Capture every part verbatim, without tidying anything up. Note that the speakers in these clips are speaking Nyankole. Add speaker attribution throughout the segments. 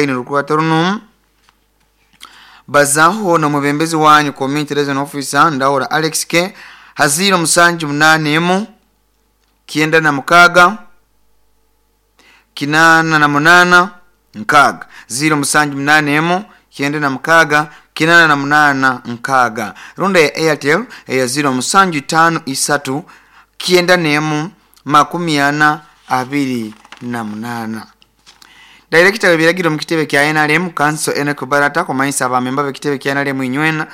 Speaker 1: Rukwata runo bazaho n'omwebembezi wanyu community liaison officer Ndahura Alex K haziro musanju munane emu kyenda na mukaaga kinaana na munaana nkaaga ziro musanju munane emu kyenda na mukaaga kinaana na munaana nkaaga runda ya Airtel eya ziro musanju itaano isatu kyenda n'emu makumi ana abiri na munaana. Director w'ebiragiro mu kitebe kya N R M Council Enoch Barata kumanyisa abamemba b'ekitebe kya N R M inywena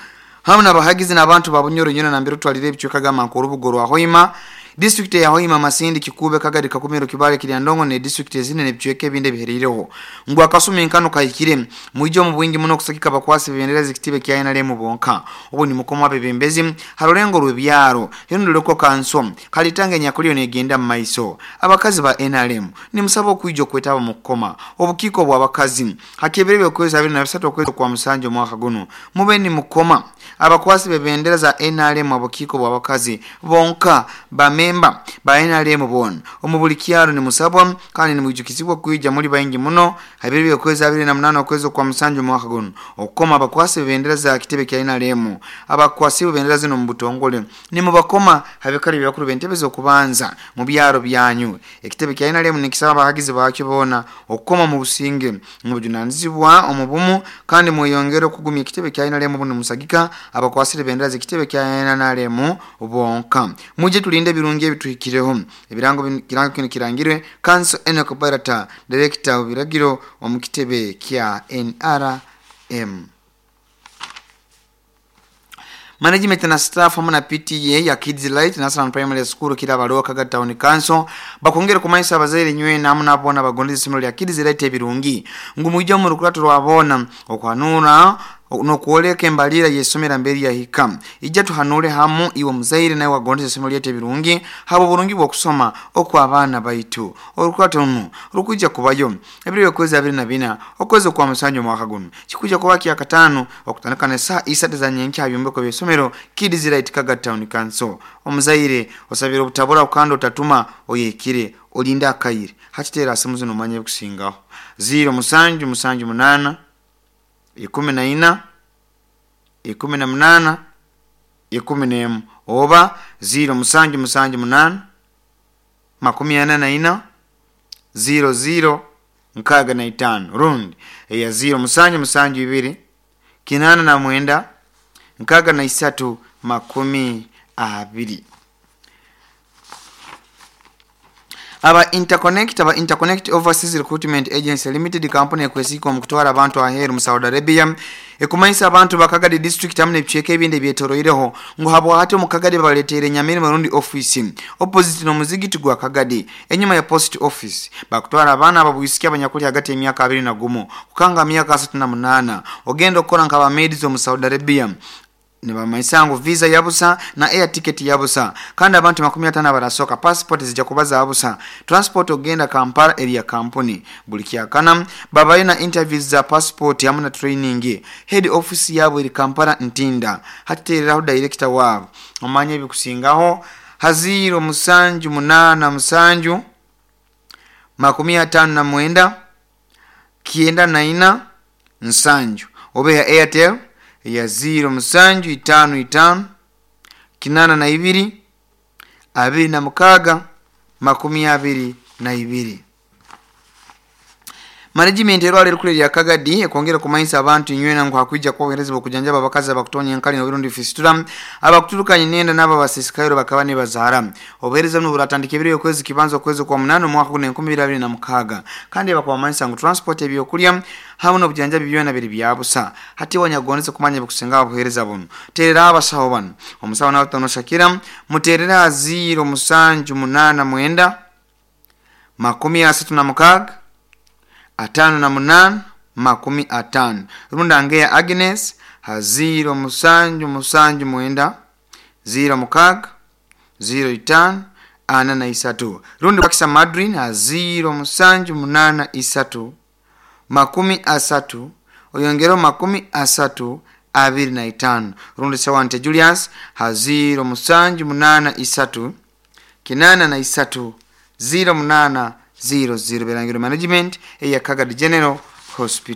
Speaker 1: hamwe n'abahagizi n'abantu ba Bunyoro nywena nambere otwalire ebicweka gamba nk'orubuga rwa Hoima, district ya Hoima, Masindi, Kikube, Kagadi, Kakumiro, Kibale, Kiryandongo ne district ezindi n'ebicweka ebindi ebihereireho ngu akasumi nkano kahikire mwije omu bwingi muno okusagika abakwasi bebendera z'ekitebe kya N R M bonka. Obu ni mukoma w'abebembezi ha rulengo rw'ebyaro hirunduleko kanso kalitanga enyakulio negenda mu maiso. Abakazi ba N R M nimusaba okwija okwetaba mu kukoma obukiiko bw'abakazi hakebere byokwezi abiri na bisatu okwezi kwa musanju omwaka guno. Mube nimukoma abakwasi bebendera za N R M obukiiko bw'abakazi bonka. Bamemba ba N R M bona omu buli kyaro nimusabwa kandi nimwijukizibwa kwija muri baingi muno habiri byokwezi abiri na munana okwezi kwa musanju omwaka guno okukoma abakwasi bebendera za kitebe kya N R M. Abakwasi bebendera zino mu butongole nimubakoma habikali byakuru b'entebe z'okubanza mu byaro byanyu. Ekitebe kya N R M nikisaba abahagizi bakyo bona okukoma mu businge mu bujunanizibwa omu bumu kandi mweyongere okugumya ekitebe kya N R M buno musagika abakwasire bendera z'ekitebe kya N R M bonka. Muje tulinde ebirungi ebituhikireho. Ebirango bin- kirango kino kirangirwe Council Enoch Barata, director w'ebiragiro omu kitebe kya N R M. Management na staff hamwe na P T A ya Kids Light National Primary School Kirabalo Kaga Town Council bakongera kumanyisa abazaire nywena hamwe n'abona bagondeza isomero lya Kids Light ebirungi ngu mwije mu rukurato rwabona okwanura nokwoleka embalira yesomera mberi yahika. Ijja tuhanule hamu iwe muzaire nawe wagondeza isomero lyaitu ebirungi haba oburungi bw'okusoma okw'abaana baitu. Orukurato runu rukwija kubayo ebiro byokwezi abiri na bina okwezi okwa musanju omwaka guno kikuja kuba kyakataano okutandika ne saa isatu za nyenkya byombeko by'essomero Kids Light Kaga Town Council. Omuzaire osabire obutabura kandi otatuma oyekire olinde akaire hakiteera asimu zino omanye ebikusingaho ziro musanju musanju munana ikumi na ina ikumi na munana ikumi n'emu oba ziro musanju musanju munana makumi ana na ina ziro ziro nkaaga na itaano rundi eya ziro musanju musanju ibiri kinaana na mwenda nkaaga na isatu makumi abiri. Aba Interconnect aba Interconnect Overseas Recruitment Agency Limited, kampuni ekwesiika omu kutwara abantu aheeru mu Saudi Arabia, ekumanyisa abantu bakagadi district hamwe n'ebicweka ebindi ebyetoroireho ngu habwahati omu Kagadi babaleteire Nyamirima rundi office opposite n'omuzigiti gwa Kagadi enyuma ya post office. Bakutwara abaana ababwisiki abanyakuli hagati y'emyaka abiri na gumu kukanga myaka asatu na munaana ogenda okukora nk'abamaids omu Saudi Arabia. Nibamanyisa ngu visa yabusa na air ticket yabusa kandi abantu makumi ataano abarasoka passport zijja kuba zabusa. Transport ogenda Kampala eri ya kampuni. Buli kyakana babayo na interviews za passport hamwe na training. Head office yabo eri Kampala Ntinda. Hatitereraho director waabo omanye ebikusingaho haziro musanju munana musanju makumi ataano na mwenda kyenda na ina nsanju oba ya Airtel ya ziro musanju itaano itaano kinana na ibiri abiri na mukaaga makumi abiri na ibiri. Management erwala erukulu erya Kagadi ekwongera kumanyisa abantu inywena ngu hakwija kuba obuheereza bw'okujanjaba abakazi abakutonya enkali n'obirundi fistula abakuturukanye nenda n'abo abasisikairo bakaba nibazaara. Obuheereza buno buratandika ebiro okwezi kibanza okwezi kwa munana omwaka guno enkumi ibiri abiri na mukaaga kandi bakubamanyisa ngu transport, ebyokulya hamwe n'obujanjabi byona biri byabusa. Hati wanyagondeze kumanya ebikusinga obuheereza buno terera abasawo bano. Omusawo nawe Shakira muterera ziro musanju munana mwenda makumi asatu na mukaaga atano na munana makumi atano runda ngeya Agnes ha ziro musanju musanju mwenda ziro mukaaga ziro itaano ana na isatu rundi wakisa Madrin ha ziro musanju munana isatu makumi asatu oyongereo makumi asatu abiri na itaano rundi Sewante Julius ha ziro musanju munana isatu kinana na isatu ziro munana ziro ziro. Berangiro management eya Kagadi General Hospital.